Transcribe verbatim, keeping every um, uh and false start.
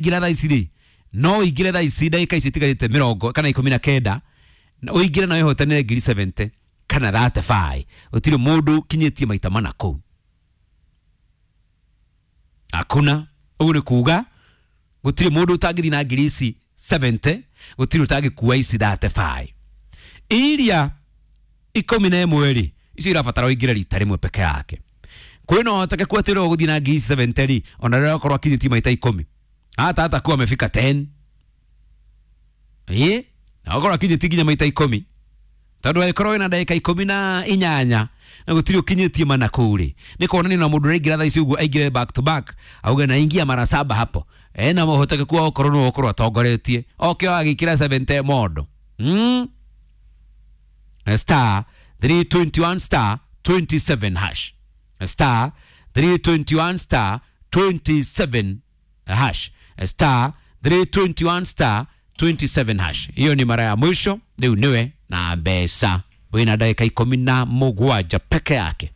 Ũraingĩra thaa ici rĩ, no ũingĩre thaa ici ndagĩka icio itigarĩte mĩrongo kana ikũmi na kenda, na ũingĩre na wĩhotanĩre ngiri mĩrongo mũgwanja kana mĩrongo ĩtatũ na ithano. Gũtirĩ mũndũ ũkinyĩtie maita mana kũu, hakuna. Ũguo nĩ kuga gũtirĩ mũndũ ũtangĩthiĩ na ngiri ici mĩrongo mũgwanja, gũtirĩ ũtangĩkua ici mĩrongo ĩtatũ na ithano. Iria ikũmi na ĩmwe rĩ, icio irabatara ũingĩre rita rĩmwe peke yake. Kwĩna ũhotekeku atĩ ũrĩa ũgũthiĩ na ngiri ici mĩrongo mũgwanja rĩ, ona rĩrĩa akorwo akinyĩtie maita ikũmi, hata hatakuwa amefika kumi, ĩ na akorwo akinyĩtie nginya maita ikũmi, tondũ angĩkorwo wĩna ndagĩka ikũmi na inyanya na gũtirĩ ũkinyĩtie mana kũu rĩ, nĩ kuonania na mũndũ ũraingĩra thaa ici ũguo aingĩre back to back, auge naingia mara saba hapo, ena ũhotekeku wa gũkorwo nĩwe ũkorwo atongoretie oke agĩkĩra mĩrongo mũgwanja mondo mm? star three two one star two seven hash, star three two one star two seven hash, star three two one star two seven hash. Hiyo ni mara ya mwisho. Rĩu nĩwe na mbeca, wĩna ndagĩka ikũmi na mũgwanja peke yake.